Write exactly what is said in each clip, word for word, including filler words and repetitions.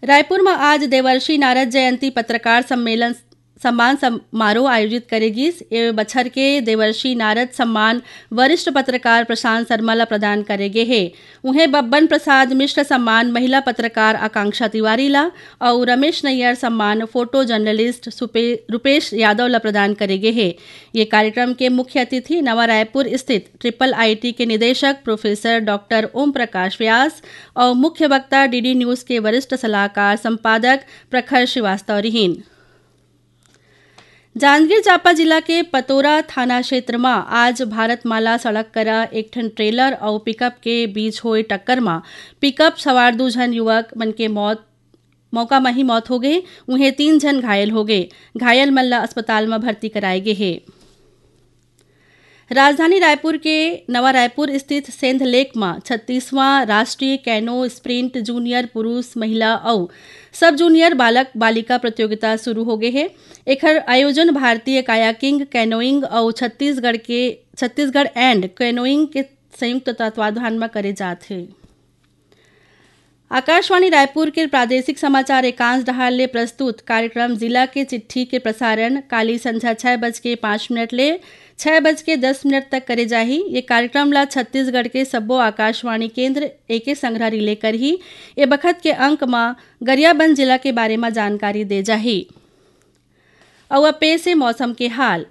रायपुर म आज देवर्षि नारद जयंती पत्रकार सम्मेलन सम्मान समारोह आयोजित करे गिस। ए बछर के देवर्षि नारद सम्मान वरिष्ठ पत्रकार प्रशांत शर्मा ला प्रदान करे गे हे। उहें बब्बन प्रसाद मिश्र सम्मान महिला पत्रकार आकांक्षा तिवारी ला अउ रमेश नैयर सम्मान फोटो जर्नलिस्ट सुपे-, रूपेश यादव ला प्रदान करे गे हे। ये कार्यक्रम के मुख्य अतिथि नवा रायपुर स्थित ट्रिपल आईटी के निदेशक प्रोफेसर डॉक्टर ओम प्रकाश व्यास अउ मुख्य वक्ता डीडी न्यूज के वरिष्ठ सलाहकार संपादक प्रखर श्रीवास्तव रिहीन। जांजगीर चांपा जिला के पतोरा थाना क्षेत्र म आज भारतमाला सड़क करा एक ठन ट्रेलर अउ पिकअप के बीच होए टक्कर म पिकअप सवार दू झन युवक मन के मौत, मौका म ही मौत हो गे। उहें तीन झन घायल हो गे। घायल मन ल अस्पताल म भर्ती कराए गे हे। राजधानी रायपुर के नवा रायपुर स्थित सेंध लेक म छत्तीसवां राष्ट्रीय कैनो स्प्रिंट जूनियर पुरुष, महिला अउ सब जूनियर बालक बालिका प्रतियोगिता शुरू हो गे हे। एखर आयोजन भारतीय कायाकिंग, कैनोइंग अउ छत्तीसगढ़ के, छत्तीसगढ़ एंड कैनोइंग के संयुक्त तत्वाधान म करे जात हे। आकाशवाणी रायपुर के प्रादेशिक समाचार एकांश डहार ले प्रस्तुत कार्यक्रम जिला के चिट्ठी के प्रसारण काली संझा छह बज के पाँच मिनट ले छह बज के दस मिनट तक करे जाही। ये कार्यक्रम ला छत्तीसगढ़ के सब्बो आकाशवाणी केंद्र एके संघरा रिले करही। ए बखत के अंक म गरियाबंद जिला के बारे म जानकारी दे जाही। अउ अब पेश हे मौसम के हाल।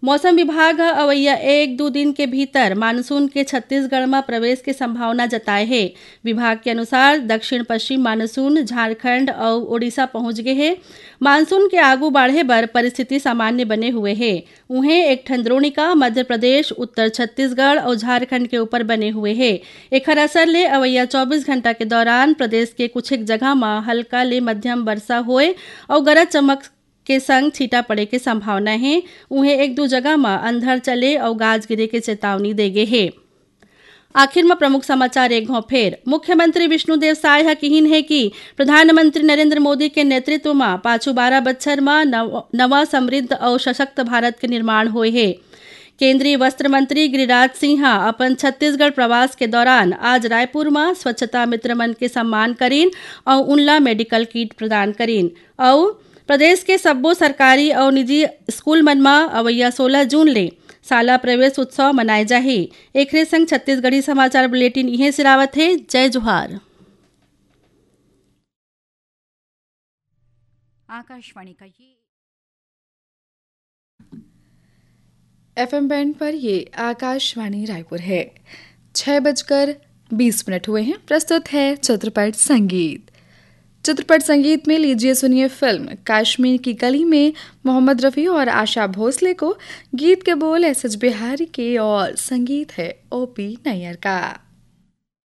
मौसम विभाग ह अवइया एक दू दिन के भीतर मानसून के छत्तीसगढ़ म प्रवेश के संभावना जताए हे। विभाग के अनुसार दक्षिण पश्चिम मानसून झारखंड अउ ओडिशा पहुंच गे हे। मानसून के आगू बाढ़े बर परिस्थिति सामान्य बने हुए हे। उहें एक ठन द्रोणिका मध्य प्रदेश, उत्तर छत्तीसगढ़ अउ झारखंड के ऊपर बने हुए हे। एखर असर ले अवइया चौबीस घंटा के दौरान प्रदेश के कुछ एक जगह म हल्का ले मध्यम वर्षा होए अउ गरज चमक के संग छींटा पड़े के संभावना हे। उहें एक दू जगह म अंधड़ चले अउ गाज गिरे के चेतावनी दे गे हे। आखिर म प्रमुख समाचार एक घौं फेर। मुख्यमंत्री विष्णुदेव साय ह किहीन हे कि प्रधानमंत्री नरेंद्र मोदी के नेतृत्व म पाछू बारह बछर म नव-, नवा समृद्ध अउ सशक्त भारत के निर्माण होए हे। केंद्रीय वस्त्र मंत्री गिरिराज सिंह ह अपन छत्तीसगढ़ प्रवास के दौरान आज रायपुर म स्वच्छता मित्र मन के सम्मान करीन अउ उनला मेडिकल किट प्रदान करीन। अउ प्रदेश के सब्बो सरकारी अउ निजी स्कूल मन म अवइया सोलह जून ले शाला प्रवेश उत्सव मनाए जाही। एखरे संग छत्तीसगढ़ी समाचार बुलेटिन इहें सिरावत हे। जय जोहार। आकाशवाणी का ये एफएम बैंड पर ये आकाशवाणी रायपुर है। छः बजकर बीस मिनट हुए हैं। प्रस्तुत है चित्रपट संगीत। चित्रपट संगीत में लीजिए सुनिए फिल्म काश्मीर की कली में मोहम्मद रफ़ी और आशा भोसले को। गीत के बोल एस एच बिहारी के और संगीत है ओपी नैयर का।